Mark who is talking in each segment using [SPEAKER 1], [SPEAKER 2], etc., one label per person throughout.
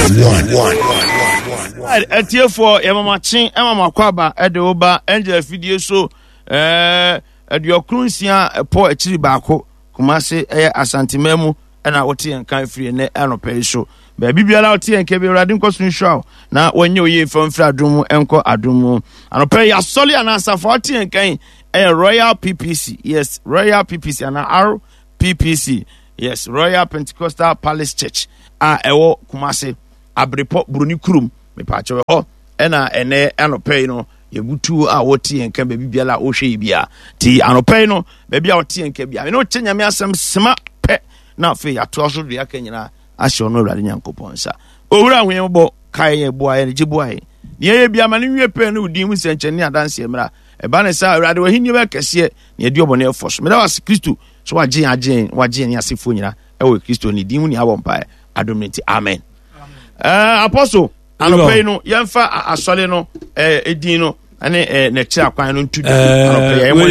[SPEAKER 1] 1.
[SPEAKER 2] Atiefoɔ yɛmamakye ɛma makɔ aba ɛde wo ba Angel afidie so ɛɛ 96 ɛpɔ akyiri baako Kumase ɛyɛ Asanteman mu ɛna wote yɛn kan firi ɛnɛ anɔpa yi so baabi biara wote yɛn ka bi Awurade nkɔ so nhyira wo na wɔnyɛ oyie mfa mfiri adom mu nkɔ adom mu anɔpa yi asɔre anaa asafo a wote yɛn kan ɛyɛ Royal PPC, yes, Royal PPC anaa RPPC, yes, Royal Pentecostal Palace Church a ɛwɔ Kumase Abrepɔ Buroni Kurom mepaakyɛw ɛhɔ ɛna ɛnɛ anɔpa yi no yɛbutu a wɔte yɛn ka baabi biara a wɔhwɛ yi bia ti anɔpa yi no baabi a wɔte yɛn ka bia ɛne wokyɛ Nyame asɛm sema pɛ na afei yɛatoa so de aka nyinaa ahyɛ ɔno Awurade Nyankopɔn nsa. Owura hu yɛn bɔ kae yɛn boa yɛn gye boa yɛn nea yɛ bia ma no nwie pɛ ne wo din mu nsɛnkyɛnne ne adanseɛ mmra. Ɛba ne saa Awurade w'ahenni bɛyɛ kɛseɛ na yɛdi ɔbɔne ɛfɔ so. Meda wo ase Kristo sɛ wagye yɛn agye yɛn wagye yɛn ne asefoɔ nyina ɛwɔ Kristo ne din mu ne abɔ mpaeɛ adom ne nti amen. Apostle anɔpa yi no yɛmfa asɔre no edin no ɛne n'akyiri akwan no nto dwa anɔpa yi
[SPEAKER 3] ɛyɛ mɔ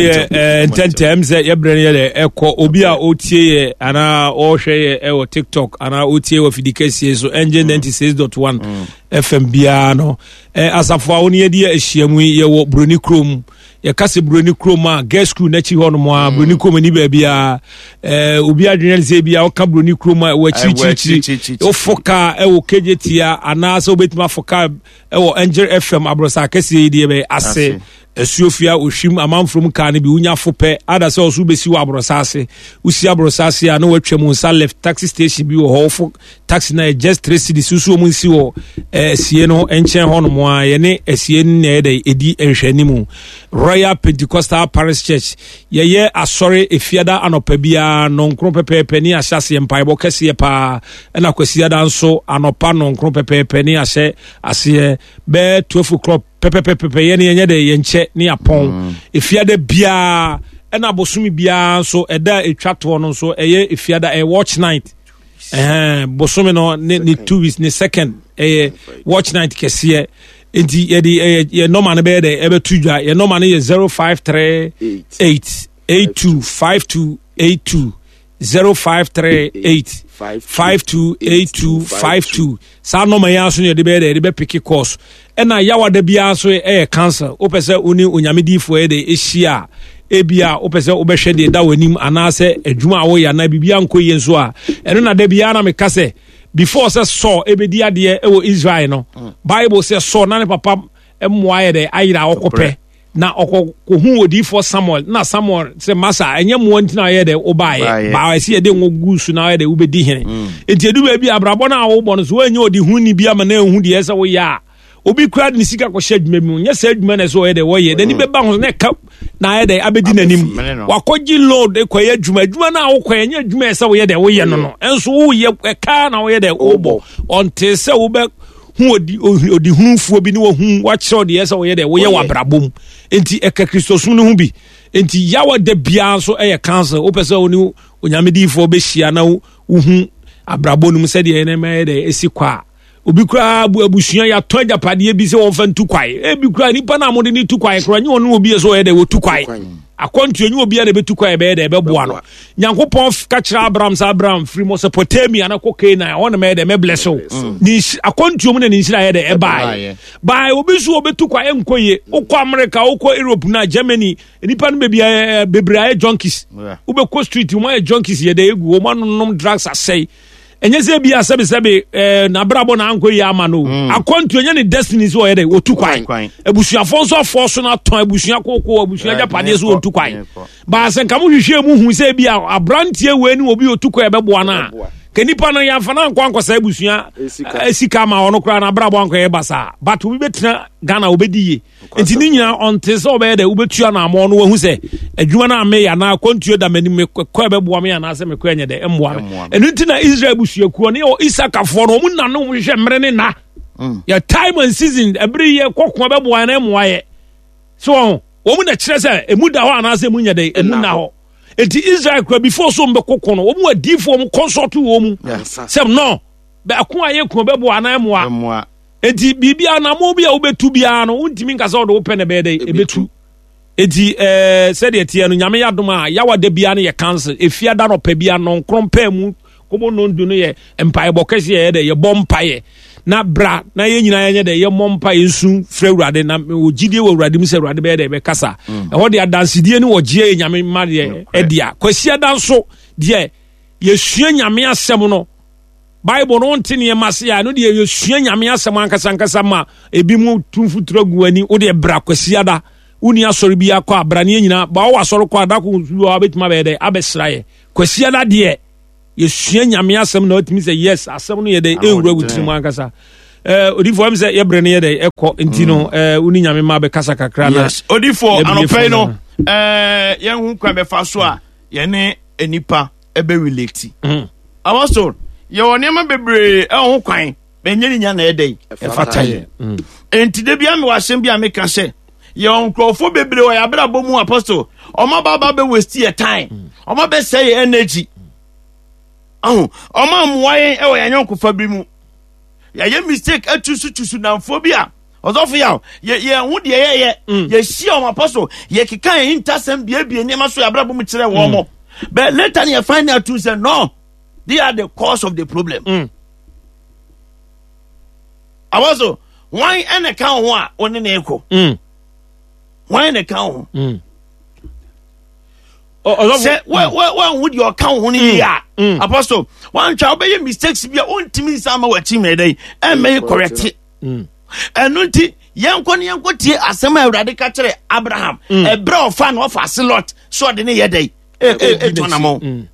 [SPEAKER 3] ntɛntɛm sɛ yɛbrɛ no yɛdɛ ɛkɔ obi a ɔtie yɛ anaa ɔhwɛ yɛ ɛwɔ TikTok anaa ɔtie wɔ fidi kɛseɛ so ɛngye 96.1 FM biara no asafo a wɔne yɛde ahyiamu yi yɛwɔ Buroni kurom. Yɛka sɛ Buroni kurom a girls school n'akyi hɔ nom a Buroni kurom ni baabi a obi adwene sɛ bi a ɔka Buroni kurom a ɛwɔ akyirikyirikyiri wofo kaa ɛwɔ kegye tia anaasɛ wobɛtumi afo kaa ɛwɔ Angel FM aborɔsa akɛseɛ yi deɛ bɛyɛ ase asuofia ohwim amanforom kaa no bi wonya fo pɛ ada sɛ ɔso wobɛsi wɔ aborɔsa ase wosi aborɔsa ase a na watwa mu nsa left taxi station bi wɔ hɔ wofo taxi na yɛ just 3 cedis so wɔn nsi wɔ asie no nkyɛn hɔ nom a yɛne asie no na yɛ dɛ edi nhwɛnimu. Royal Pentecostal Parish Church, yɛyɛ asɔre efiada anɔpa biara nɔnkron pɛpɛɛpɛ ne ahyɛ aseɛ mpaebɔ kɛseɛ paa, ɛna kwasiada nso anɔpa nɔnkron pɛpɛɛpɛ ne ahyɛ aseɛ bɛɛ 12 o'clock pɛpɛpɛpɛ yɛne yɛnyɛ dɛ yɛnkyɛ ne apɔn efiada biara, ɛna bosome biara nso ɛda a etwa toɔ no nso ɛyɛ efiada, ɛyɛ watch night. Bosome no ne 2 weeks ne second ɛyɛ watch night kɛseɛ. Nti yɛde ɛyɛ yɛ nɔma no bɛyɛ dɛ ɛbɛto dwa. Yɛ nɔma no yɛ 0538 825282, 0538 528252. Saa nɔma yi aso no yɛde bɛyɛ dɛ yɛde bɛpeke course. Ɛna yawada biara nso ɛyɛ council. Wopɛ sɛ wo ne Onyame diifoɔ yɛ dɛ ɛhyia a, ebia wopɛ sɛ wobɛhwɛ deɛ da w'anim anaasɛ adwuma a woyɛ anaa biribi ankɔ yie nso a, ɛno na da biara na meka sɛ before sɛ Saul ɛbɛdi adeɛ ɛwɔ Israel no, Bible sɛ Saul na ne papa mmoa yɛ dɛ ayera a ɔkɔpɛ na ɔkɔ kɔhu odiifoɔ Samuel, na Samuel sɛ masa ɛnyɛ mmoa nti na ɔyɛ dɛ wobaeɛ baa ɛsɛ yɛde ngo gu so na ɔyɛ dɛ wobɛdi hene. Nti ɛdu baabi abrabɔ no a wobɔ no so woanyɛ ɔde hu ni bi ama na ɛhu deɛ ɛsɛ woyɛ a, obi kura de ne sika kɔhyɛ adwuma bi mu nyɛ saa adwuma na ɛsɛ ɔyɛ dɛ wɔyɛ n'ani bɛba ho na ɛka na ayɛ dɛ abɛdi n'anim. Wakɔgye load kɔyɛ adwuma, adwuma no a wokɔyɛ nyɛ adwuma ɛsɛ woyɛ dɛ woyɛ no ɛnso woyɛ ɛka na woyɛ dɛ wobɔ ɔnte sɛ wobɛ hu odi odi hunufoɔ bi ne wahu wakyerɛw deɛ ɛsɛ woyɛ dɛ woyɛ wɔ abrabɔ mu. Nti ɛka Kristosom no ho bi. Nti yawa da biara nso ɛyɛ council. Wopɛ sɛ wo ne Onyame diifoɔ bɛhyia na wohu abrabɔ no mu sɛdeɛ ɛnɛma yɛ dɛ ɛsi kɔ a, obi koraa bu abusua yɛatɔ agyapadeɛ bi sɛ wɔmfa ntu kwae. Ebi koraa nipa no a mode ne tu kwae koraa nyɛ ɔno obi yɛ sɛ ɔyɛ dɛ wɔtu kwae akɔntuo nyɛ obi a na ɛbɛtu kwae ɛbɛyɛ dɛ ɛbɛboa no. Nyankopɔn ka kyerɛ Abraham sɛ Abraham firi Mesopotamia na kɔ Canaan hɔ na mɛyɛ dɛ mɛbless wo. Ne akɔntuo mu na ne nhyira yɛ dɛ ɛbaeɛ bae. Obi nso wɔbɛtu kwae nkɔ yie. Wokɔ America, wokɔ Europe na Germany, nipa no baabi bebree ayɛ junkies. Wobɛkɔ street wɔn ayɛ junkies yɛ dɛ egu wɔn anonom drugs asɛe. Ɛnyɛ sɛ bi a sɛbesɛbe n'abrabɔ na ankɔ yie ama no. Akɔntuo nyɛ ne destiny sɛ ɔyɛ dɛ wɔtu kwan. Abusuafoɔ nso afɔ so no atɔn abusua koko abusua agyapadeɛ so wɔtu kwan baasɛ nka mo hwehwɛ mu hu sɛ bi a aberanteɛ wei ne obi ɔtu kwan ɛbɛboa no a, ka nipa no yɛmfa no ankɔ ankɔsa abusua sika ama ɔno koraa n'abrabɔ ankɔyɛ basaa, but obi bɛtena Ghana obɛdi yie. Nti ne nyinaa ɔnte sɛ ɔbɛyɛ dɛ wobɛtua no amɔ no wahu sɛ adwuma no a meyɛ anaa akwantuo da m'anim mekɔ ɛbɛboa me anaasɛ mekɔ ɛnyɛ dɛ ɛmmoa me. Ɛno nti na Israel abusuakuo ne Isakafoɔ no ɔmu nane wɔn hwehwɛ mmerɛ ne nna yɛ time and season ɛbere yɛ kɔko ɛbɛboa na ɛmmoa yɛ so wɔn wɔn na kyerɛ sɛ emu da hɔ anaasɛ emu nyɛ dɛ emu nna hɔ. Nti Israel kura before so mbɛkɔko no wɔn mu adiifoɔ wɔn consult wɔn mu sɛ no bɛko a yɛ ko bɛboa anaa ɛmmoa. Enti biribi anammɔn bi a wobɛtu biara no, wontumi nka sɛ wode wo pɛ na ɛbɛyɛ dɛ ɛbɛtu. Enti sɛdeɛ teɛ no, Nyame yɛ adom a, yawa da biara no yɛ council. Efia da nɔpɛ biara nɔnkron pɛɛ mu kɔbɔ nondu no yɛ mpaebɔ kɛseɛ yɛ dɛ yɛbɔ mpaeɛ. Na bra na yɛn nyinaa yɛnyɛ dɛ yɛmmɔ mpa yɛnsu frɛ Awurade na wɔ gyidie wɔ Awurade mu sɛ Awurade bɛyɛ dɛ bɛkasa. Ɛhɔ deɛ adansedie ne wɔgyeɛ yɛ Nyame mma deɛ ɛdea. Kwasiada nso deɛ yɛsua Nyame asɛm no. Bible no wonte nneɛma ase a ɛno deɛ yɛsua Nyame asɛm ankasa ankasa ma ebi mu tu mfuturo gu ani. Wo deɛ bra Kwasiada. Wonni asɔre bi akɔ a bra ne yɛn nyinaa ba wowɔ asɔre kɔ a da ko bi wɔ hɔ a wobɛtumi abɛyɛ dɛ abɛsra yɛ. Kwasiada deɛ yɛsua Nyame asɛm na watumi sɛ yes asɛm no yɛ dɛ ɛwura wo tirim ankasa. Eh, odifoɔ ɛm sɛ yɛbrɛ no yɛ dɛ ɛkɔ nti no mm. eh, wo ne Nyame ma bɛkasa kakra na
[SPEAKER 2] yes odifoɔ anɔpɛ yi no eh, yɛnhu kwan bɛfa so a yɛne nnipa ɛbɛ relate mm. Apostle yɛwɔ nneɛma bebree ɛwɔ ho kwan bɛnyɛ ne nya na ɛdɛ ɛfata yɛ mm. nti da bia mewɔ asɛm bi a meka sɛ yɛwɔ nkurɔfoɔ bebree wɔ yɛ abrabɔ mu apostle ɔma ba ba bɛ waste yɛ time mm. ɔma bɛsɛ yɛ energy aho ɔma mmoa yɛn ɛwɔ yɛn anyɔnkofa bi mu yɛayɛ mistake atusutusu namfoɔ bi a ɔsɔfo yaw yɛ yɛn ho deɛ yɛyɛ mm. yɛhyia wɔn apɔso yɛkeka yɛn ntasɛm biebie nneɛma so yɛ abrabɔ mu kyerɛ wɔn mo mm. but later ne yɛ find out too sɛ no they are the cause of the problem. Mm. Apostle, wɔn ɛna ka ho a wɔne ne kɔ. Wɔn ɛna ka ho. Sɛ wɔn ho deɛ ɔka ho no yie a, apostle, wɔn antwa wɔbɛyɛ mistakes bi a wɔntumi nsa ama wɔn akyi mmerɛ dɛ ɛmmɛyɛ correct. Ɛno nti yɛnkɔ ne yɛnkɔ tie asɛm a Awurade ka kyerɛ Abraham ɛberɛ a ɔfa na ɔfa ase Lot sɛ ɔde ne yɛ dɛ ɛtɔ namɔ.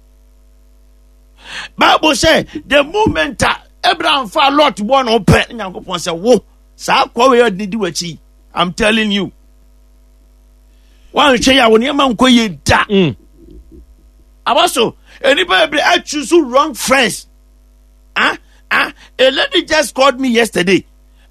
[SPEAKER 2] Bible sɛ the moment a Abraham fa Lot bɔ no pɛ ne Nyankopɔn sɛ wo saa kɔ wei ɔde di w'akyi I'm telling you wanhwɛ yɛ a wo nneɛma nkɔ yie da mm. aba so nnipa bebree achoose wrong friends ah ah a lady just called me yesterday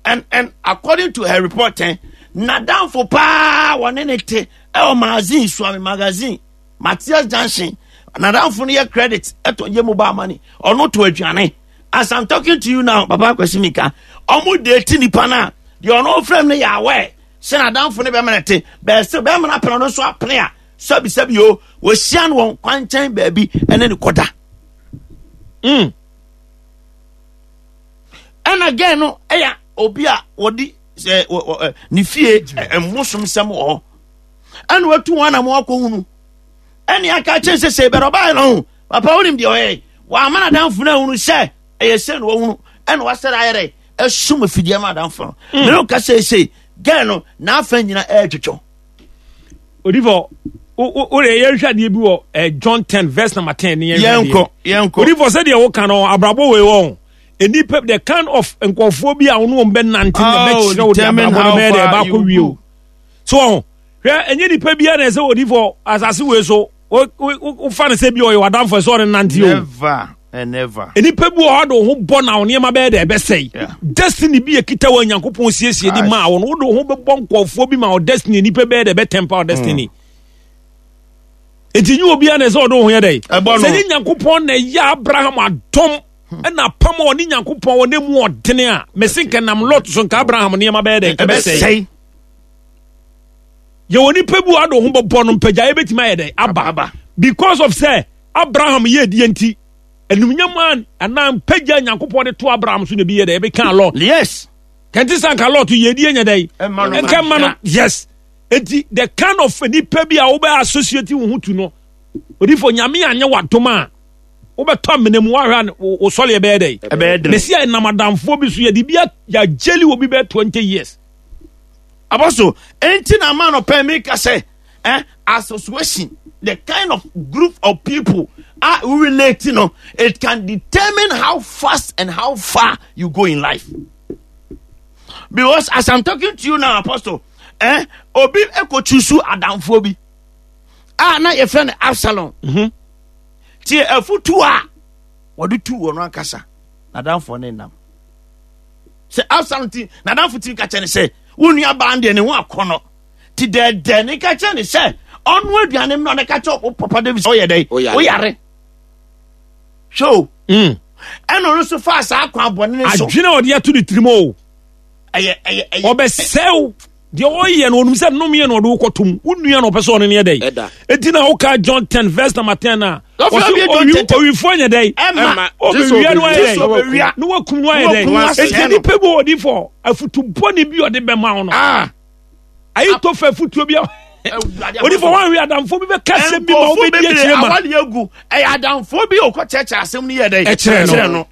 [SPEAKER 2] and and according to her report eh, nadamfo paa wɔne ne te ɛwɔ magazine suame magazine Matthias Junction nadamfo no yɛ credit ɛtɔ yɛ mobile money ɔno to aduane as i'm talking to you now papa akwasi mika ɔmo date nipa no a deɛ ɔno frɛ no yɛ aware sɛ nadamfo no bɛma no te bɛɛsɛ bɛma no apene ɔno nso apene a sɛbisɛbi o wɔhyia no wɔn kwankyɛn baabi ɛne ne kɔda mm. ɛna gɛn no ɛyɛ obi a wɔde sɛ ne fie mmosom sɛm wɔ hɔ ɛna watu wɔn anam akɔhunu ɛne aka kyerɛ sɛ sɛ bɛrɛ ɔbaa no ho papa wonim deɛ ɔyɛ wɔama no adamfo no ahunu sɛ ɛyɛ sɛ na wahunu ɛna wasɛre ayɛ dɛ ɛsum afidie ma adamfo no mm. mene woka sɛ sei gɛn no n'afa nyina ɛretwetwɔ
[SPEAKER 3] odifo wode yɛnhwɛ adeɛ bi wɔ eh, john 10 verse number 10 ne
[SPEAKER 2] yɛnkɔ yɛnkɔ
[SPEAKER 3] odifo sɛdeɛ woka no abrabɔ wei wɔ nnipa the kind of nkurɔfoɔ bi a wo ne wɔn bɛnante na oh, bɛkyerɛ wo de abrabɔ no bɛyɛ dɛ ɛbaakɔ wie o so wɔn hwɛ ɛnyɛ nipa biara na ɛsɛ odifo asase wei so wofa no sɛ bi ɔyɛ w'adamfo ɛsɛ ɔne nante o
[SPEAKER 2] never and never
[SPEAKER 3] nipa bi wɔ hɔ de wo ho bɔ na wo nneɛma bɛyɛ dɛ ɛbɛsɛe destiny bi ekita wɔ nyankopɔn siesie de maa wo no wode wo ho bɛbɔ nkɔɔfoɔ bi ma wo destiny nipa bɛyɛ dɛ ɛbɛtɛmpa wo destiny mm. nti nye obiara na ɛsɛ ɔde wo ho yɛ dɛ sɛ nye nyankopɔn na ɛyɛ abraham adɔm hmm. ɛna apam a ɔne nyankopɔn wɔ ne mu ɔdene a mɛsi nka nam lot so nka abraham nneɛma bɛyɛ dɛ ɛbɛsɛe yɛwɔ nipa bi wɔ ado ho bɔbɔ no mpagyaeɛ bɛtumi ayɛ dɛ aba because of sɛ abraham yɛ deɛ nti anumnyam a anaa mpagya nyankopɔn de to abraham so na bi yɛ dɛ ɛbɛka lot
[SPEAKER 2] yes
[SPEAKER 3] kɛnte sɛ anka lot yɛ deɛ nyɛ dɛ nka ma no yes enti the kind of nipa bi a wobɛ associate wo ho to no odifo nyame anyɛ wadom a wobɛtɔ amena mu woahwɛ a wo sɔre ɛbɛyɛ dɛ mɛsi a ɛnam adamfoɔ bi so yɛde bi yɛagyeli wɔ bi bɛyɛ 20 years
[SPEAKER 2] Apostle, enti na ama no pɛ mi ka sɛ, eh, association, the kind of group of people are we relate, you know, it can determine how fast and how far you go in life. Because as I'm talking to you now, Apostle, eh, obi ekochusu adamfo bi. Ah, na your friend Absalom. Mm-hmm. Tie afutu a wɔde tu wɔn ankasa n'adamfo ne nam. sɛ absalom ti n'adamfo ti ka kyerɛ ne sɛ wo nua baa deɛ ne ho akɔnɔ ti dɛɛdɛɛ ne ka kyerɛ ne sɛ ɔno aduane mmerɛ ne ka kyerɛ wo papa david sɛ ɔyɛ dɛn woyare hwɛ o mm. ɛna ɔno nso faa saa kwan bɔne ne
[SPEAKER 3] so adwene a ɔde ato ne tirim o
[SPEAKER 2] ɛyɛ ɛyɛ ɛyɛ
[SPEAKER 3] ɔbɛsɛw. Deɛ ɔyɛ no ɔnum sɛ nnome yɛ na ɔde wokɔto mu. Wo nua na ɔpɛ sɛ ɔne no yɛ dɛn. Enti na woka John 10 verse number 10 a ɔse owifoɔ nyɛ dɛn. Ɔbɛwia no ayɛ dɛn. Na wakum no ayɛ dɛn. Enti nipa bi wɔ ɔdifo afutu bɔne bi ɔde bɛma wo no. Ah. Ahitofel afutuo bi a odifo wɔn ahwɛ adamfo bi bɛka asɛm bi ma wobɛdi akyire ma.
[SPEAKER 2] Awale agu ɛyɛ adamfo bi a ɔkɔ kyerɛkyerɛ asɛm no yɛ dɛn.
[SPEAKER 3] Ɛkyerɛ no.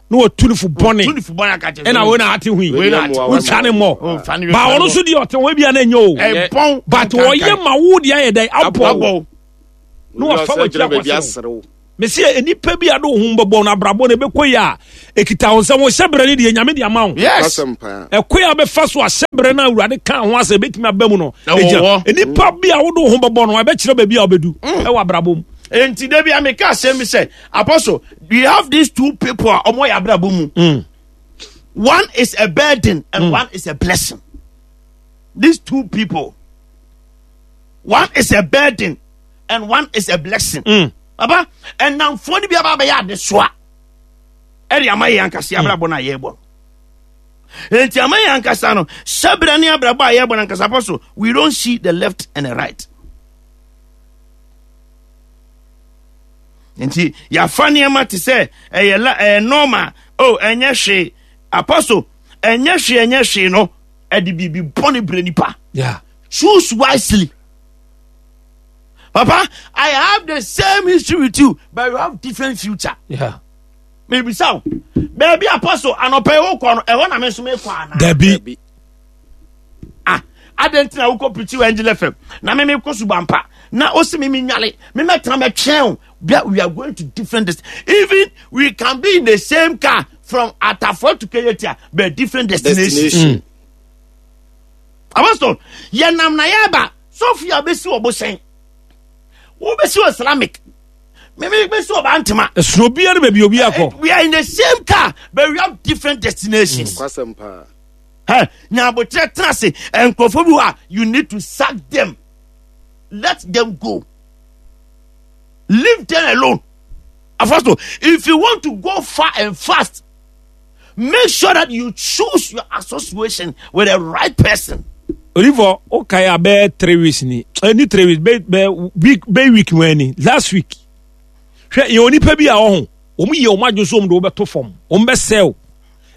[SPEAKER 3] Na wɔtu no fo bɔne ɛna wei na ate hui wotwa ne mmɔ ba ɔno nso deɛ ɔte ho bia na ɛnyɛ o but ɔyɛ ma wo deɛ ayɛ dɛn abɔ na wafa w'akyi akɔserew mesi nnipa bi a de wo ho bɛbɔ no abrabɔ no ɛbɛkɔ yi a ɛkita wo nsɛm wo hyɛberɛ no deɛ nyame de ama wo ɛkɔ yi a bɛfa so a hyɛberɛ no awurade ka ho asɛ ɛbɛtumi aba mu no ɛgyina nnipa bi a wode wo ho bɛbɔ no ɛbɛkyerɛ baabi a wobɛdu mm. ɛwɔ abrabɔ mu
[SPEAKER 2] nti da bi a meka asɛm bi sɛ apostle we have these two people a ɔmo yɛ abrabɔ mu mm. one is a burden and mm. one is a blessing these two people one is a burden and one is a blessing mm. papa ɛnamfoɔ no bi aba abɛyɛ adesoa ɛde ama yɛn ankasa mm. abrabɔ no a yɛrebɔ no nti ama yɛn ankasa no hyɛbrɛ ne abrabɔ a yɛrebɔ no ankasa pɔ so we don't see the left and the right nti yɛafa nneɛma te sɛ ɛyɛ la ɛyɛ normal oh ɛnyɛ hwee apostle ɛnyɛ hwee ɛnyɛ hwee no ɛde biribi bɔne brɛ nipa
[SPEAKER 3] yeah.
[SPEAKER 2] choose wisely papa i have the same history with you but you have different future
[SPEAKER 3] yeah.
[SPEAKER 2] mebisa wo baabi apostle anɔpɛ yi wokɔ no ɛhɔ na me nso mekɔ anaa
[SPEAKER 3] dabi
[SPEAKER 2] ah adɛn nti na wokɔ pirikyi wɔ angel fm na me mekɔ subampa na osi me menwale me mɛtena mɛtwɛn o we are going to different dest even we can be in the same car from Atafo to Kejetia but different destination.
[SPEAKER 1] destination.
[SPEAKER 3] Mm.
[SPEAKER 2] Apostle yɛnam na yɛba Sophia bɛsi wɔ bohyɛn wobɛsi wɔ Islamic meme bɛsi wɔ Bantama.
[SPEAKER 3] Ɛsono obiara ne baabi obi akɔ.
[SPEAKER 2] Eh, we are in the same car but we have different destinations.
[SPEAKER 1] Kwasɛm paa.
[SPEAKER 2] Hey, nyabotrɛ tena ase nkurɔfoɔ bi hɔ a you need to sack them let them go leave them alone apostle if you want to go far and fast make sure that you choose your association with the right person.
[SPEAKER 3] Olivor, okay, I bear 3 weeks ni. Any eh, 3 weeks, be be week, be week when last week. Hwɛ yɛ onipa bi a ɔho. Wɔn yɛ wɔn adwene so wɔn de wɔbɛto fam. Wɔn bɛsɛw.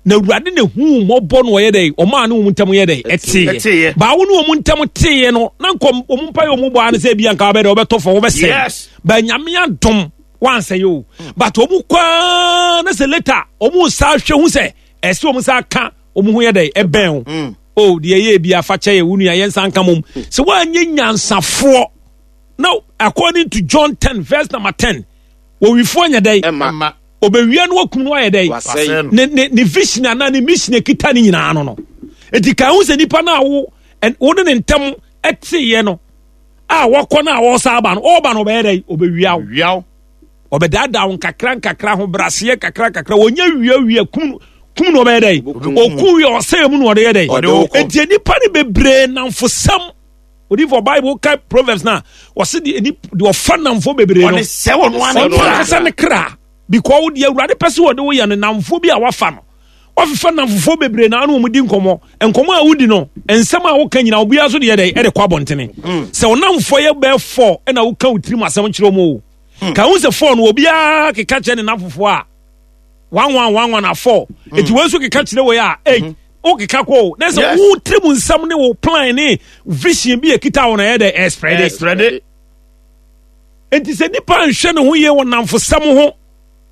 [SPEAKER 3] Na awurade na hu mmɔbɔ no ɔyɛ dɛ ɔmaa ne wɔn ntam yɛ dɛ ɛteeɛ. Baawo ne wɔn ntam teeɛ no na nkɔ wɔn mpa yɛ wɔn bɔ ano sɛ ebi anka wɔbɛ dɛ wɔbɛtɔ fam wɔbɛsɛe.
[SPEAKER 2] Yes.
[SPEAKER 3] Ba nyame adom wansɛe o. But wɔn kwaa na sɛ later wɔn nsa ahwɛ hu sɛ ɛsɛ wɔn nsa aka wɔn ho yɛ dɛ ɛbɛn o. Mm. O deɛ ɛyɛ bi afa kyɛ yɛ wo nua yɛn nsa nka mom. Sɛ wɔanyɛ nyansafoɔ now according to John 10 verse number 10 owifoɔ nyɛ dɛn
[SPEAKER 1] Ɛma.
[SPEAKER 3] obewia no wakum no ayɛ dɛn
[SPEAKER 1] Wasɛe no.
[SPEAKER 3] ne ne ne vision anaa ne mission ekita ne nyinaa no no eti kan ho sɛ nipa no a wo wo ne ne ntɛm ɛteeɛ no a wɔkɔ no a wɔsa aba no ɔba no ɔbɛyɛ dɛn obewia wo
[SPEAKER 2] Wia wo.
[SPEAKER 3] ɔbɛdaadaa wo nkakra nkakra ho braseɛ kakra kakra wɔnyɛ wia wia kum kum no ɔbɛyɛ dɛn ɔku wia ɔsɛe mu na ɔde yɛ dɛn
[SPEAKER 1] Ɔde wo kɔ.
[SPEAKER 3] eti nipa no bebree namfosɛm odifo bible ka proverbs na wɔsi deɛ ni deɛ ɔfa namfo bebree no
[SPEAKER 2] ɔde sɛ wɔn ano
[SPEAKER 3] ɔno ankasa ne kra because wo deɛ awurade pɛ sɛ wɔde wo yɛ no namfo bi a wafa no wafefa namfofoɔ bebree na ano wɔn di nkɔmɔ nkɔmɔ a wodi no nsɛm a woka nyinaa obiara so deɛ dɛ ɛde kɔ abɔntene mm. sɛ ɔnamfoɔ yɛ bɛɛ fɔ ɛna woka wo tirim asɛm kyerɛ wɔn o mm. ka ho sɛ fɔ no obiara keka kyerɛ ne namfofoɔ a one one one one afɔ mm. eti wɔn nso keka kyerɛ wɔ yɛ a eight mm-hmm. wokeka kɔ o na sɛ wo tirim nsɛm ne wo plan ne vision bi ekita wo na ɛyɛ dɛ ɛsprɛde nti sɛ nipa nhwɛ ne ho yie wɔ namfosɛm ho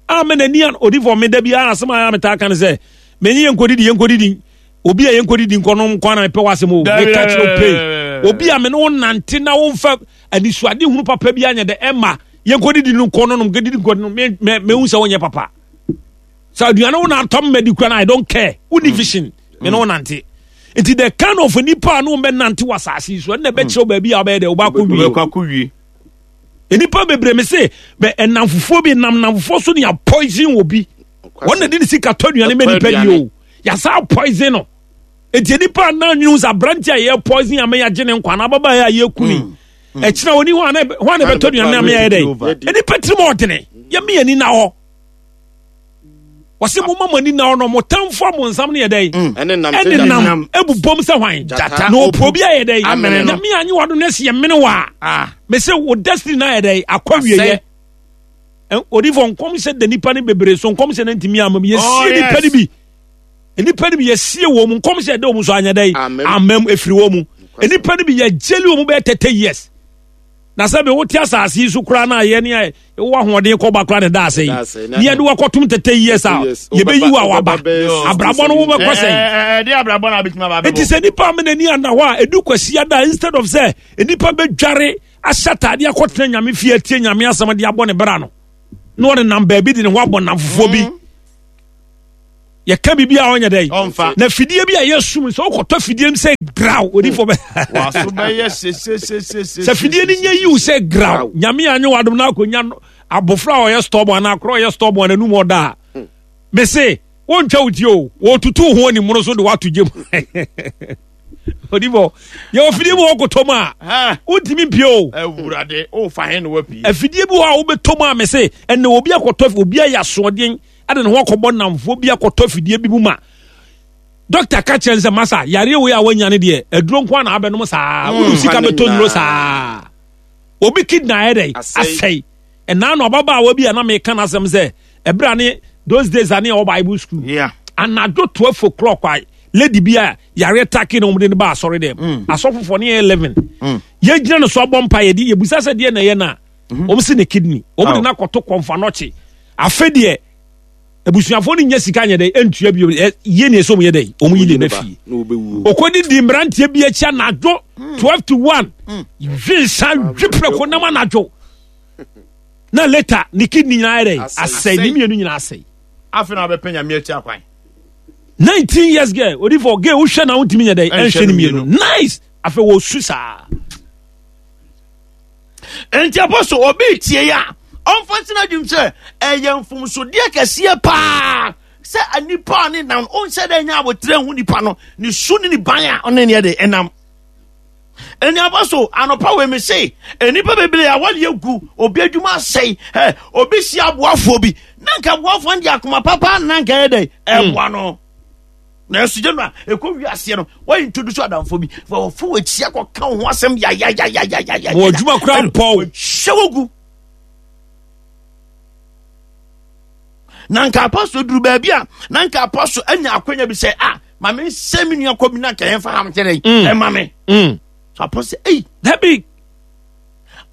[SPEAKER 3] a mɛ n'ani an odifo me da bi a asɛm a metaa ka ne sɛ menye yɛn nkɔdidi yɛn nkɔdidi obi a yɛn nkɔdidi nkɔnom kwan na mepɛ w'asɛm o meka kyerɛ wo pei obi a me ne wo nante na womfa anisoade hunu papa bi anyɛ dɛ ɛma yɛn nkɔdidi no nkɔ no nom nkɔdidi nkɔ no me me mehu sɛ wonyɛ papa sɛ aduane wo na atɔ mmɛdi kura na I don't care wonni mm. vision me ne wo nante nti the kind of nipa a ne wo bɛnante wɔ asase yi so ɛnna ɛbɛkyerɛ wo baabi a wobɛyɛ dɛ wobɛakɔ wie nnipa bebree me se bɛ ɛnamfofoɔ bi nam namfofoɔ so ne yɛ poison wɔ bi wɔn na de ne sika tɔ aduane mɛ nipa di o yasa poison no eti nipa anan nwene sɛ aberante a yɛ poison ama yɛagye ne nkwa na ababaa a yɛku ni mm. mm. ɛkyina wɔni hɔ ana hɔ ana bɛtɔ aduane ama yɛyɛ dɛ nipa tirim ɔdene yɛmi yɛn ni na hɔ. Wɔse momma mo ani nna hɔ na mo tamfo abonsam no yɛ dɛn?
[SPEAKER 2] Mm.
[SPEAKER 3] Ɛne nam ebubom sɛ hwan?
[SPEAKER 2] Gyata.
[SPEAKER 3] Na ɔpɛ obi ayɛ dɛn?
[SPEAKER 2] Amene no.
[SPEAKER 3] Nyame anye wado no asi ɛmene wɔ a.
[SPEAKER 2] Ah.
[SPEAKER 3] Mese wo destiny no ayɛ dɛn? Akɔ wieɛ. Odifo nkɔmhyɛ da nipa no bebree so nkɔmhyɛ no ntumi ama mu. Yɛsie
[SPEAKER 2] oh,
[SPEAKER 3] nipa no bi. Nipa no bi yɛsie wɔ mu nkɔmhyɛ da wɔn so anyɛ dɛn? Amam efiri wɔn mu. Nipa no bi yɛgyeli wɔn bɛyɛ 30 years. Na sɛ bi wote asase yi so koraa na ayɛ ne ayɛ wowɔ ahoɔden kɔba koraa na ɛda ase yi ne yɛde wakɔtom tete years a yɛbɛyi wo a waba abrabɔ no wobɛkɔ sɛn ɛnti sɛ nipa ama n'ani ana hɔ a ɛdu kwasi ada instead of sɛ nipa bɛdware ahyɛ ataadeɛ akɔtena nyame fie atie nyame asɛm de abɔ ne bra no na ɔde nam baabi de ne ho abɔ nam fofoɔ bi mm. Yɛka biribi a ɔnyɛ dɛ na fidie bi a yɛsum sɛ wokɔtɔ fidie m sɛ graw odifoɔ bɛ sɛ fidie no nyɛ yiw sɛ graw nyame anyɛ wadom no akɔnya abofra a ɔyɛ stɔbɔ anaa akorɔ ɔyɛ stɔbɔ ananum ɔda a hmm. mese wontwa wo tie o wɔtutu ho animono so de woato gyem odifo yɛwɔ fidie bi wɔ kɔtɔ mu a wontumi mpie o afidie bi wɔ a wobɛtɔ mu a mese ɛnɛ obi akɔtɔ obi ayɛ asoɔden ɛde ne ho akɔbɔ nnamfoɔ bi akɔtɔ afidie bi mu ma dɔkta ka kyerɛ sɛ masa yareɛ wei a wanya no deɛ aduro nko na abɛnom saa mm, wode sika bɛtɔ nnuro saa obi kidney ayɛ dɛ asɛe ɛnaa no ababaawa bi a na meka no asɛm sɛ ɛberɛ a ne those days a ne ɛwɔ bible school yeah. anadwo 12 o'clock a lady bi a yareɛ take na wɔde no ba asɔre dɛm mm. asɔfofoɔ ne yɛ 11 mm. yɛgyina no so abɔ mpa yɛde yɛbusa sɛ deɛ na ɛyɛ no a mhm. wɔn si ne kidney wɔn de no akɔto kɔnfa nɔkye afe deɛ abusuafoɔ no nya sika nyɛ dɛ ntua bio yie ne ɛsɛ wɔn yɛ dɛ wɔn yi ne ba fie okodi di mmeranteɛ bi akyi anadwo hmm. 12 to 1 hmm. hwe nsa hwe prɛko nam anadwo na later ne kidney nyinaa yɛ dɛ asɛe ne mmienu nyinaa asɛe.
[SPEAKER 2] afei na wabɛpɛ nyame akyi akwan.
[SPEAKER 3] 19 years girl odifo girl wohwɛ na wontumi nyɛ dɛ ɛnhwɛ ne mmienu nice afei wɔsu saa.
[SPEAKER 2] Enti apɔso obi tie yi a, ɔmfa ntena adwum sɛ ɛyɛ mfomsodeɛ kɛseɛ paa sɛ nipa a ne nam ɔnhyɛ dɛ nya abotrɛ hu nipa no ne su ne ne ban a ɔne neɛ de ɛnam. Ɛni apɔso anɔpa wei me se nnipa bebree a wɔde agu obi adwuma asɛe ɛ obi si aboafoɔ bi na nka aboafoɔ no de akoma papa na nka ɛyɛ dɛ ɛboa no. Nanso gye no a ɛkɔ wiaseɛ no wɔyɛ introduce adamfo bi fa wɔfo wɔakyi akɔka wo ho asɛm yayayayayaya
[SPEAKER 3] wɔ adwuma kora mpɔw
[SPEAKER 2] hyɛ wo gu na nka apɔso duru baabi a na nka apɔso anya akwanya bi sɛ ah ma me nsɛ me nua kɔ bi na nka yɛmfa ham kyerɛ ɛma me so apɔso ei
[SPEAKER 3] dabi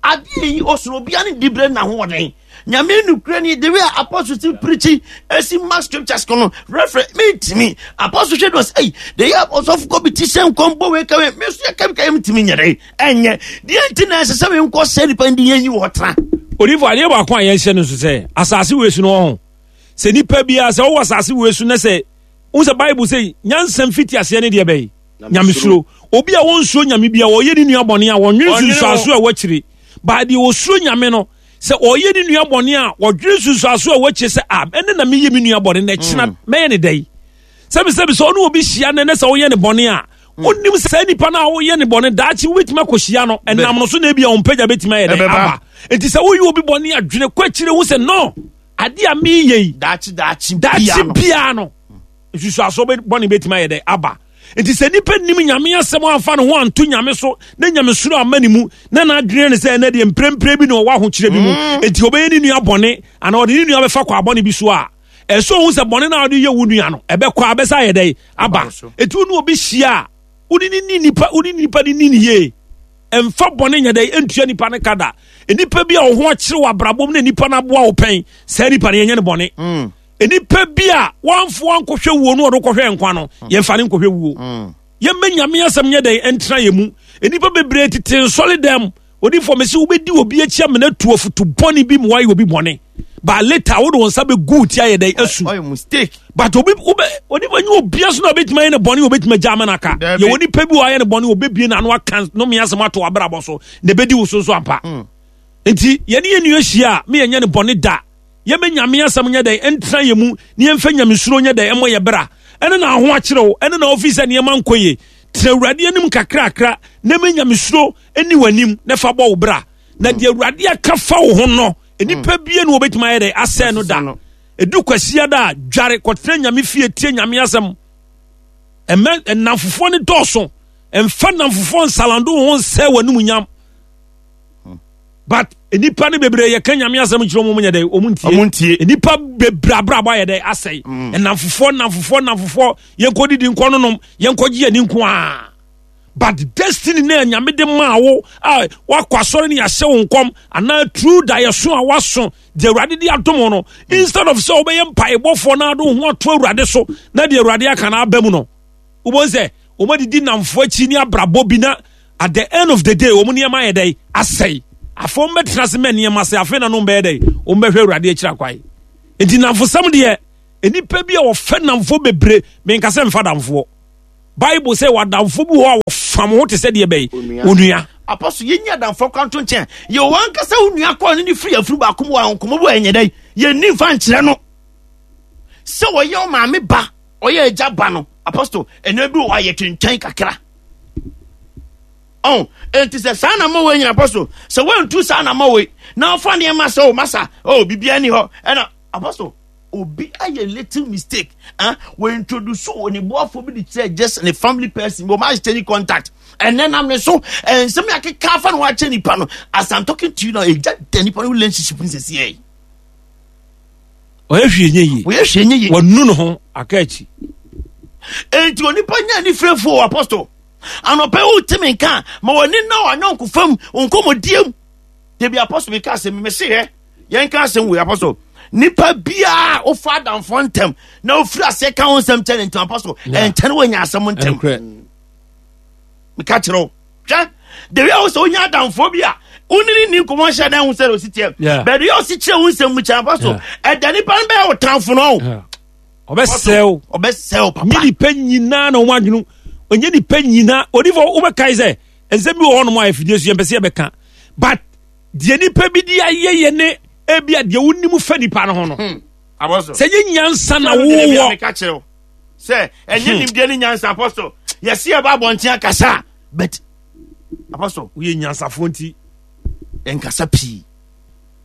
[SPEAKER 2] Adeɛ yi ɔsono obia ne dibrɛ na ahoɔden. Nyame nukura ni the way apostle si preachi esi ma scriptures ko no reference me ntimi apostle hwɛ do sɛ the way apostle kɔ bi ti sɛ nkɔm bɔ wei kawe me so yɛ kawe kawe ntimi nyɛ dɛ ɛnyɛ deɛ nti na ɛsɛ sɛ me nkɔ sɛ nipa ndi yɛn yi wɔ tra.
[SPEAKER 3] Odifo adeɛ baako a yɛnhyɛ no nso sɛ asase wei so no ɔho sɛ nipa biara sɛ ɔwɔ asase wei so na sɛ wohu sɛ bible sɛ nyansa mfiti aseɛ ne deɛ bɛyi nyamesuro obi a wɔnsuro nyame bia ɔyɛ ne nua bɔne a wɔnwene nsunsuaso a wɔakyire baa deɛ ɔsuro nyame no sɛ ɔyɛ ne nua bɔne a wɔdwene nsunsuaso a wɔakyire sɛ a ɛne na meyɛ me nua bɔne na ɛkyena mm. mɛyɛ ne dɛn sɛbisɛbi sɛ ɔne obi hyia nɛ ne sɛ woyɛ ne bɔne a mm. wonim sɛ saa nipa no a woyɛ ne bɔne daakye wobɛtumi akɔhyia no ɛnam no so na ebia ɔmpagya bɛtumi ayɛ dɛn aba nti sɛ woyɛ obi bɔne adwene kɔ akyire ho sɛ no adeɛ a meyɛ yi
[SPEAKER 2] daakye daakye
[SPEAKER 3] daakye biara no nsusuasoɔ bɔne bɛtumi ayɛ dɛ aba nti sɛ nipa nim nyame asɛm amfa ne ho anto nyame so na nyamesuro amma ne mu na n'adwene ne sɛ ɛnɛ deɛ mprempren bi na ɔwɔ ahokyerɛ bi mu mm. nti ɔbɛyɛ ne nua bɔne anaa ɔde ne nua bɛfa kɔ abɔne bi so a ɛsɛ ohun sɛ bɔne no a ɔde yɛ wo nua no ɛbɛkɔ abɛsa ayɛ dɛ aba nti wo ne obi hyia a wode ne ni nipa wode nipa ne ni ne yie Mfa bɔne nyɛ dɛ ntua nipa no ka da. Nipa bi a wo ho akyere wɔ abrabɔ mu na nipa no aboa wo pɛn, saa nipa no yɛnyɛ no bɔne. Mm. Nipa bi a wamfo ankɔhwɛ wuo no ɔde kɔhwɛ nkwa no, mm. yɛmfa no nkɔhwɛ wuo. Mm. Yɛmmɛ nyame asɛm nyɛ dɛn ntra yɛ mu. Nipa bebree tete nsɔre dɛm. Odifoɔ mese wobɛdi obi akyi amena tu afutu bɔne bi ma wayɛ obi bɔne. But later wode wo nsa bɛgu wo ti ayɛ dɛn asu. But obi wobɛ onipa nye obia so na obɛtumi ayɛ ne bɔne obɛtumi agya ama no aka. Yɛwɔ nipa bi wɔ ayɛ ne bɔne obɛbie n'ano aka nome asɛm ato abrabɔ so na ɛbɛdi wo so nso ampa. Hmm. Nti yɛne yɛn nua hyia a me yɛnyɛ ne bɔne da. Yɛmɛ nyame asɛm nyɛ dɛn ɛntra yɛ mu ne yɛmfa nyamesuro nyɛ dɛn ɛmmɔ yɛ bra. Ɛne na aho akyerɛ wo ɛne na ofi sɛ nneɛma nkɔ yie. Tena Awurade anim kakrakra na ɛmɛ nyamesuro ɛni w'anim na fa bɔ wo bra. Na deɛ Awurade aka fa wo ho no nnipa bie no wɔbɛtumi ayɛ dɛ asɛe no da. Ɛdu Kwasiada a, dware kɔtena Nyame fie tie Nyame asɛm. Ɛmɛ nnamfofoɔ no dɔɔso. Ɛmfa nnamfofoɔ nsalando wo ho nsɛ w'anumunyam. But nnipa no bebree yɛka Nyame asɛm kyerɛ wɔn nyɛ dɛ wɔn ntie.
[SPEAKER 2] Wɔn ntie.
[SPEAKER 3] Nnipa bebree abrabɔ ayɛ dɛ asɛe. Nnamfofoɔ nnamfofoɔ nnamfofoɔ yɛnkɔ didi nkɔ nonom yɛnkɔ gye yɛn nko ara. But destiny na Nyame de maa wo a wakɔ asɔre ne yɛahyɛ wo nkɔm anaa true daeɛso a waso deɛ Awurade de adom no instead of sɛ wobɛyɛ mpaebɔfoɔ na ade wo ho ato Awurade so na deɛ Awurade aka no aba mu no, wobɛhu sɛ wɔn adidi nnamfoɔ akyi ne abrabɔ bi na at the end of the day wɔn nneɛma ayɛ dɛn asɛe. Afei wɔn bɛtena ase mɛ nneɛma sɛ afei na no bɛyɛ dɛn wɔn bɛhwɛ Awurade akyiri akwan. Nti nnamfosɛm deɛ nnipa bi a wɔfɛ nnamfoɔ bebree menka sɛ mfa damfoɔ. Bible sɛ w'adamfo bi wɔ hɔ a wɔfam ho te sɛ deɛ bɛyi onua.
[SPEAKER 2] Apostle, yɛnyi adamfoɔ kora nto nkyɛn. Yɛ wɔn ankasa wo nua kɔɔ ne ne firi afuru baako mu wɔ nkɔmmɔ bi wɔ ɛnyɛ dɛn yɛnni mfa nkyerɛ no sɛ ɔyɛ ɔmaame ba ɔyɛ agya ba no. Apostle, ɛnɛ bi wɔ hɔ a yɛtwentwɛn kakra. Ɔn, enti sɛ saa na ma wɔ nyina apostle, sɛ wɔntu saa na ma wɔ na ɔfa nneɛma sɛ o masa o biribiara ni hɔ ɛna apostle obi ayɛ little mistake ah wɔ introduce wɔ ne boafo bi de kyerɛ just ne family person bi wɔn exchange contact ɛnɛ nam ne so nsɛm yɛ akeka afa na wɔakyɛ nipa no as i'm talking to you now egya da nipa no relationship n sisi yɛ.
[SPEAKER 3] ɔyɛ hwee nye yie
[SPEAKER 2] ɔyɛ hwee nye yie
[SPEAKER 3] wɔnu ne ho aka akyi.
[SPEAKER 2] Enti onipa nya ne firefo wɔ apostle anɔpɛ wo timi nka ma wɔne na wɔn anyɔnko fam nkɔmɔdie mu debi apostle mi ka asɛm mi se hɛ. Yɛnka asɛm wei apɔsɔ nipa biara wofa adamfoɔ ntɛm na wofiri aseɛ ka ho nsɛm kyɛ ne ntɛm apɔsɔ ɛnkyɛ no woanya asɛm ntɛm meka kyerɛ wo hwɛ the way a wo sɛ wonya adamfoɔ bi a wone ne ni nkɔmmɔ nhyɛ dɛn ho sɛ ɔsi teɛ but the way a ɔsi kyerɛ wo nsɛm mu kyɛ apɔsɔ ɛda nipa no bɛyɛ wo tamfo no
[SPEAKER 3] ɔbɛsɛw
[SPEAKER 2] ɔbɛsɛw papa
[SPEAKER 3] nye nipa nyinaa na wɔn adwene onye nipa nyinaa odifo wobɛkae sɛ nsɛm bi wɔ hɔnom a afidie so yɛmpɛ sɛ yɛbɛka but deɛ nipa bi de ayɛ yɛ ne ebi a deɛ wonim fa nipa no ho no hmm. sɛ nye nyansa na wowɔ
[SPEAKER 2] sɛ ɛnyɛ hmm. nimdeɛ ne nyansa apɔstol yɛsi ɛba abɔnten akasa but apɔstol
[SPEAKER 3] woyɛ nyansafoɔ nti
[SPEAKER 2] nkasa pii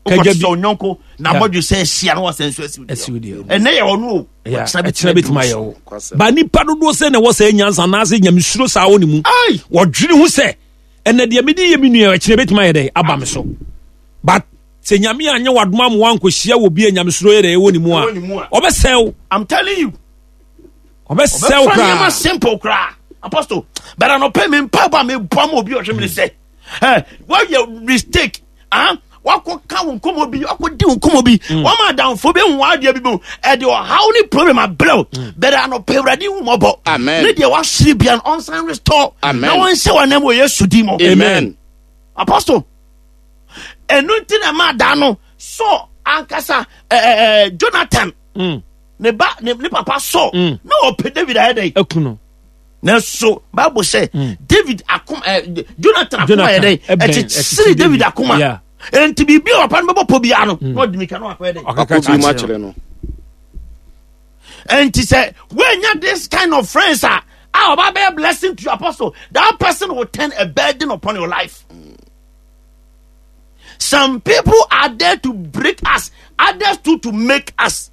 [SPEAKER 2] wokɔte sɛ onyɔnko na abɔdwe sɛ ahyia na wasɛ nso asiw deɛ ɛnɛ yɛ ɔno o
[SPEAKER 3] ɛkyena bɛtumi ayɛ wo ba nipa dodoɔ sɛ na ɛwɔ sɛ nyansa anaasɛ nyamesuro saa wɔ ne mu wɔdwene ho sɛ ɛnɛ deɛ mede yɛ me nua ɛkyerɛ bɛtumi ayɛ dɛ aba me so but sɛ nyame anyɛ wadoma ma wankɔhyia wɔ bi a nyamesuro yɛ dɛ ɛwɔ ne mu a ɔbɛsɛe wo.
[SPEAKER 2] I'm telling you
[SPEAKER 3] ɔbɛsɛe wo koraa
[SPEAKER 2] nneɛma simple koraa apostle but anɔpɛ me mpaebɔ a mebɔ ma obi ɔhwɛ me ne sɛ eh, woayɛ mistake ah wakɔ ka wo nkɔmmɔ bi wakɔ di wo nkɔmmɔ bi mm. wɔn adamfo bi hu adeɛ bi mu ɛde ɔhaw ne problem abrɛw mm. bɛrɛ anɔpɛ awurade hu mɔbɔ ne deɛ wahyere bia no ɔnsan restore na wɔnhyɛ wɔn anam wɔ yesu di mu
[SPEAKER 1] amen
[SPEAKER 2] apostle ɛnu nti na ɛma adaa no so ankasa ɛɛ jonathan mm. ne ba ne papa so na ɔpɛ david ayɛ dɛ
[SPEAKER 3] ɛkunu
[SPEAKER 2] nanso bible sɛ mm. david akoma ɛ eh, jonathan akoma yɛ dɛ ɛkyekyere david akoma nti biribi a papa no bɛbɔ pɔ biara no mm. na ɔde mika no akɔyɛ dɛ
[SPEAKER 1] ɔkɔ bi mu akyerɛ no
[SPEAKER 2] nti sɛ woanya this kind of friends a a ɔba bɛyɛ blessing to your apostle that person will turn a burden upon your life. Some people are there to break us, others too to make us.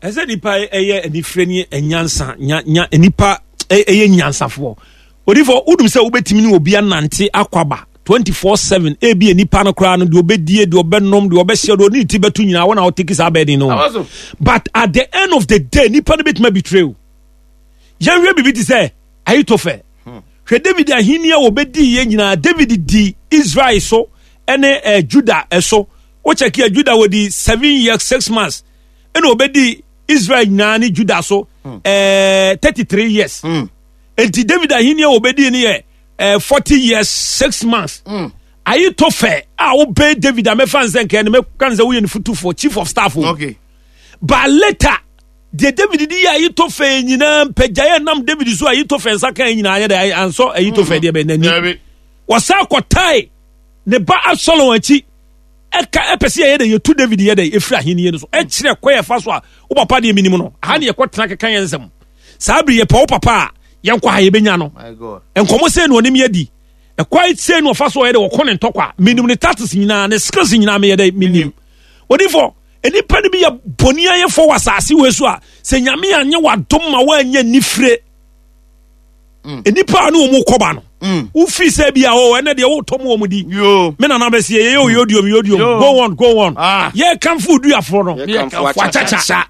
[SPEAKER 3] Ɛsɛ nipa ɛyɛ anifere ne nyansa nya nya nipa ɛyɛ nyansafoɔ. Odifo wodum sɛ wobɛtumi ne obi anante akwaba 24/7 ebi nipa no koraa no deɛ ɔbɛdie deɛ ɔbɛnom deɛ ɔbɛhyɛ deɛ ɔne ne ti bɛto nyinaa wɔn na ɔteki saa bɛɛden no. But at the end of the day nipa no bɛtumi abitire o. Yɛnhwɛ biribi te sɛ Ahitofel. Hmm. Hwɛ David ahenni a wɔbɛdii yɛ nyinaa David di Israel so ɛne eh, Judah ɛso. Wokyɛke a Judah wɔdi 7 years 6 months. Ɛna ɔbɛdi Israel nyinaa ne Judah so hmm. eh, 33 years. Hmm. Enti David ahenni a wɔbɛdi no yɛ eh, 40 years 6 months. Mm. Ahitofel a wobɛn David a mɛfa nsɛ nkɛn no mɛka nsɛ woyɛ ne fotufoɔ chief of staff.
[SPEAKER 2] Okay.
[SPEAKER 3] But later deɛ David de yɛ Ahitofel nyinaa mpagyaeɛ nam David so Ahitofel nsa kan nyinaa yɛ dɛ ansɔ Ahitofel deɛ bɛn n'ani. Wɔsan kɔtae ne ba Absalom akyi ɛka ɛpɛ sɛ yɛyɛ dɛ yɛtu David yɛ dɛ ɛfiri ahenni no so ɛkyerɛ kɔ yɛfa so a wo papa deɛ menim no aha ne yɛkɔ tena keka yɛn nsɛm saa bere yɛpɛ wo papa a yɛnkɔ ha yɛbɛnya no nkɔmmɔ sɛ na ɔnim yɛdi ɛkwan sɛ na ɔfa so ɔyɛ dɛ wɔkɔ ne ntɔkwa menim ne tactics nyinaa ne skills nyinaa meyɛ dɛ menim odifo. Nnipa no bi yɛ bɔne ayɛfoɔ wɔ asase wei so a sɛ Nyame anyɛ w'adom ma woanyɛ nifire. Nnipa a ne wɔn kɔba no. Wofiri sɛ bi a o ɛnɛ deɛ wotɔ mu wɔn di. Me nana bɛsi yɛ yɛ oyodiom yodiom go on go on. Ah. Yɛ kanfo duafoɔ no.
[SPEAKER 1] Yɛ kanfo akyakya.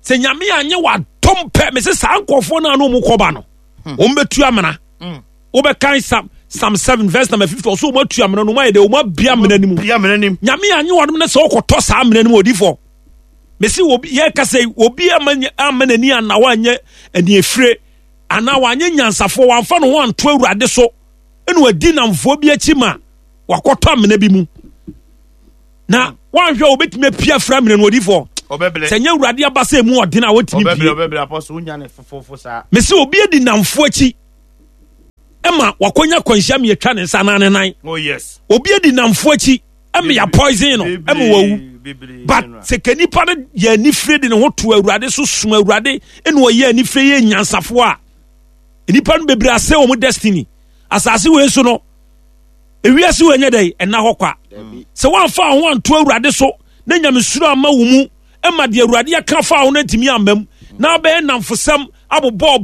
[SPEAKER 3] Sɛ Nyame anyɛ w'adom pɛ mese saa nkurɔfoɔ no a ne wɔn kɔba no. Wɔn bɛtu amena. Wobɛkan Psalm Psalm 7 verse number 50 ɔsɛ wɔn atu amena no wɔn ayɛ dɛ wɔn abia amena no mu. Nyame anyɛ w'adom no sɛ wokɔtɔ saa amena no mu odifoɔ. Mese obi yɛ kasa yi obi ama ama n'ani anna wanyɛ aniefire anaa wanyɛ nyansafoɔ wamfa ne ho anto awurade so ɛna wadi namfoɔ bi akyi ma wakɔtɔ amena bi mu na wanhwɛ a obɛtumi apia afiri amena no odifoɔ sɛ nyɛ awurade aba sɛ ɛmu ɔden a wɔntumi pie mese obi adi namfoɔ akyi ɛma wakɔnya kwanhyia mmiɛtwa ne nsa anaa ne nan
[SPEAKER 2] oh,
[SPEAKER 3] obi adi namfoɔ akyi ɛma yɛ poison no ɛma wawu but sɛ ka nipa no yɛ anifire de ne ho to awurade so som awurade ɛna ɔyɛ anifire yɛ nyansafoɔ a nipa no bebree asɛ wɔn destiny asase wei so no ewiase wei nyɛ dɛ ɛna hɔ kwa sɛ wɔamfa ho anto awurade so na nyamesuro ama wo mu ɛma deɛ awurade aka fa ho no ntumi amma mu na abɛyɛ namfosɛm abobɔ.